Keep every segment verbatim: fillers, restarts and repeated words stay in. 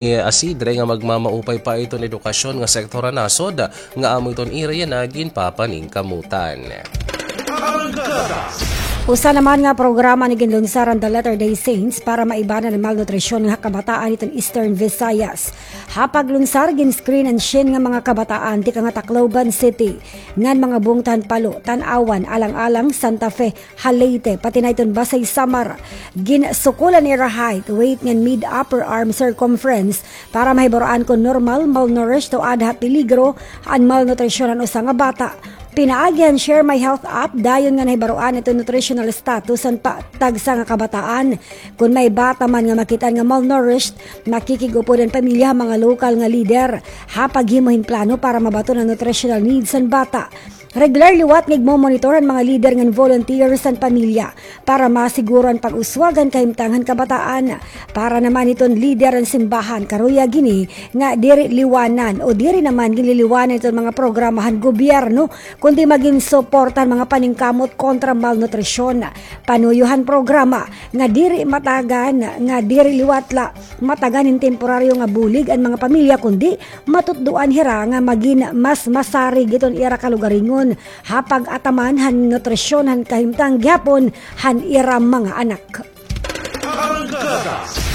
ASEEDRE nga magmamaupay pa iton edukasyon nga sektor han nasod nga amo iton ira yana ginpapaningkamutan. Usa naman nga programa an iginlunsar han The Latter-day Saints para maibanan an malnutrisyon nga kabataan hiton Eastern Visayas. Ha paglunsar, gin-screen an syen nga mga kabataan tikang ha Tacloban City ngan mga bungto han Palo, Tanauan, Alang-alang, Santa Fe, ha Leyte, pati na iton Basey, Samar. Ginsukol an ira height, weight ngan mid-upper arm circumference para mahibaroan kon normal, malnourished o aada ha peligro an malnutrisyon an usa nga bata. Pinaagi han Share My Health app, dayon nga nahibaroan iton nutritional status han pa-, tagsa nga kabataan. Kon may bata man nga makit-an nga malnourished, makikig-upod an pamilya ha mga lokal nga lider ha paghimo hin plano para mabaton an nutritional needs han bata. Regular liwat nga igmo-monitor han mga lider ngan volunteers han pamilya para masiguro an pag-uswag han kahimtang han kabataan. Para naman hiton lider han simbahan, karuyag hini nga diri liwanan o diri naman ginliliwanan iton mga programa han gobyerno, kundi magin suporta han mga paningkamot kontra malnutrisyon. Panuyo han programa nga diri matagan, nga diri liwat la matagan hin temporaryo nga bulig an mga pamilya, kundi matutdoan hira nga magin mas masarig iton ira kalugaringon ha pag-ataman han nutrisyon han kahimtang gihapon han ira mga anak.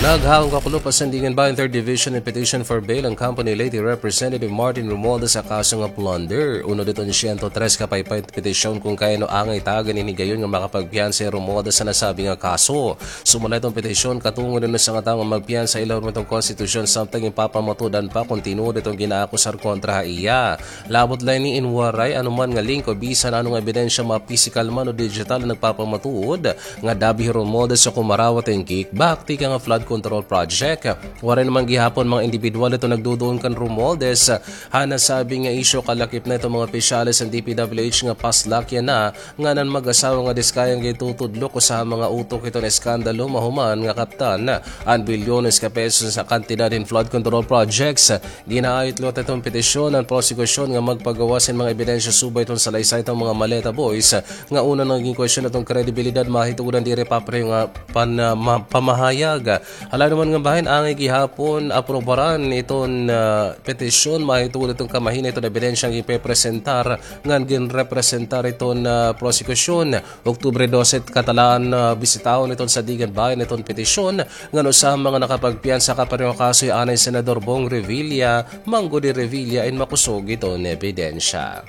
Naghaon kakulop an Sandiganbayan Third Division in petition for bail an company Leyte Representative Martin Romualdez ha kaso nga plunder. Unod hiton siyento tres ka paypay petisyon kon kay ano angay tagan hin higayon nga makapagpiyansa hi Romualdez ha nasabi nga kaso. Sumala hiton petisyon, katungod an usa nga tawo nga magpiyansa ha ilarom hiton konstitusyon samtang ginpapamatud-an pa kon tinuod iton ginaakusar kontra ha iya. Labot la ini in waray anuman nga link o bisan ano nga ebidensya, mga pisikal man o digital, nga nagpapamatuod nga dabi hi Romualdez ha kumarawat hin kickback tikang ha flood control project. Waray naman gihapon mga indibidwal iton nagduduon kan Romualdez ha nasabi nga isyu. Kalakip na iton mga opisyales han D P W H nga paslak yana ngan an mag-asawa nga diskaya nga gintutudlok usa ha mga utok hiton eskandalo mahuman nga kaptan an bilyones ka pesos nga kantidad hin flood control projects. Ginaayot liwat hiton petisyon an prosekusyon nga magpagawas hin mga ebidensya subay hiton salaysay hiton mga Maleta Boys nga una nagin kwestiyon hiton kredibilidad mahitungod han diri papareho nga pan-, ah, ma-, pamahayag. Hala naman nga bahin, angay gihapon aprobaran iton, ah, petisyon mahitungod hiton kamahina hiton ebidensya nga ginpepresentar ngan ginrepresentar hiton, ah, prosekusyon. Oktubre dose, katalaan, ah, bisitahon iton Sandiganbayan iton petisyon ngan usa ha mga nakapagpiyansa kapareho ha kaso hi anay Senador Bong Revilla, manggod hi Revilla in makusog iton ebidensya.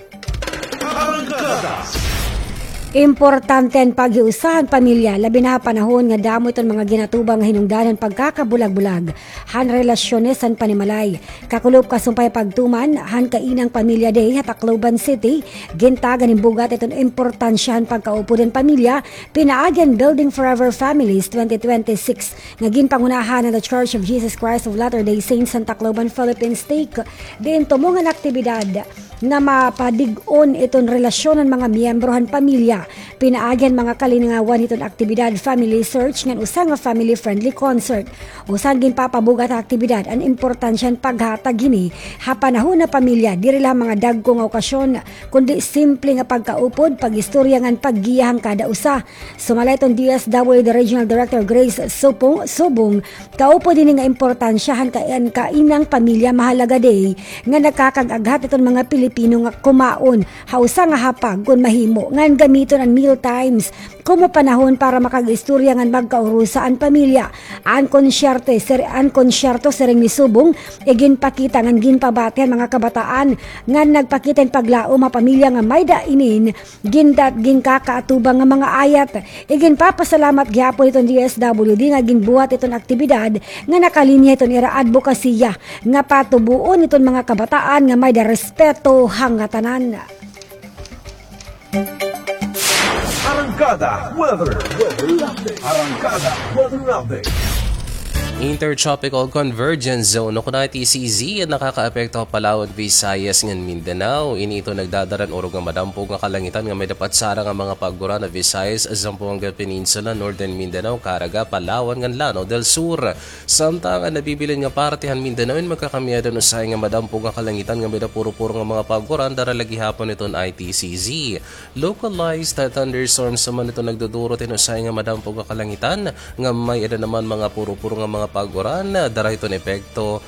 Importante an paghiusa han pamilya, labi na ha panahon nga damo iton mga ginatubang nga hinungdan han pagkakabulag-bulag han relasyones han panimalay. Kakulop kasumpay pagtuman han Kainang Pamilya Day ha Tacloban City, gintagan hin bug-at iton importansya han pagkaupod han pamilya, pinaagi han Building Forever Families twenty twenty-six nga ginpangunahan han The Church of Jesus Christ of Latter-day Saints han Tacloban, Philippines Stake, diin tumong an aktibidad nga mapadig-on iton relasyon han mga miyembro han pamilya. Pinaagi han mga kalingawan hiton aktibidad, family search ngan usa nga family-friendly concert. Usa han ginpapabug-at ha aktibidad an importansya han paghatag hini ha panahon ha pamilya, diri la ha mga dagko nga okasyon, kundi simple nga pagkaupod, pag-istorya ngan paggiya han kada usa. Sumala hiton D S W D Regional Director Grace Supong, Subong, kaupod hini nga importansya han ka-, an Kainang Pamilya Mahalaga Day nga nakakag-aghat hiton mga Pilipino nga kumaon ha usa nga hapag kon mahimo, ngan gamiton an meal times komo panahon para makag-istorya ngan magkaurusa an pamilya. An konsyerte, sir, an konsyerto, siring ni Subong, iginpakita ngan ginpabati han mga kabataan ngan nagpakita hin paglaom ha pamilya nga may-ada inin gindat-, ginkakaatubang nga mga ayat. Iginpapasalamat gihapon hiton D S W D nga ginbuhat iton aktibidad nga nakalinya hiton ira adbokasiya nga patuboon iton mga kabataan nga may-ada respeto ha ngatanan. Arangkada Weather. Arangkada Weather Update. Intertropical Convergence Zone o kon I T C Z an nakakaapekto ha Palawan, Visayas ngan Mindanao. Ini ito nagdadara hin urog nga madampog nga kalangitan nga may-ada patsara nga mga pag-uran ha Visayas, Zamboanga Peninsula, Northern Mindanao, Caraga, Palawan ngan Lanao del Sur. Samtang an nabibilin nga parte han Mindanao in magkakamay-ada hin usahay nga madampog nga kalangitan nga may-ada puro-puro nga mga pag-uran, dara la gihapon iton I T C Z. Localized thunderstorms naman ito nagduduro hin usahay nga madampog nga kalangitan nga may-ada naman mga puro-puro nga mga pag-uran, dara hiton epekto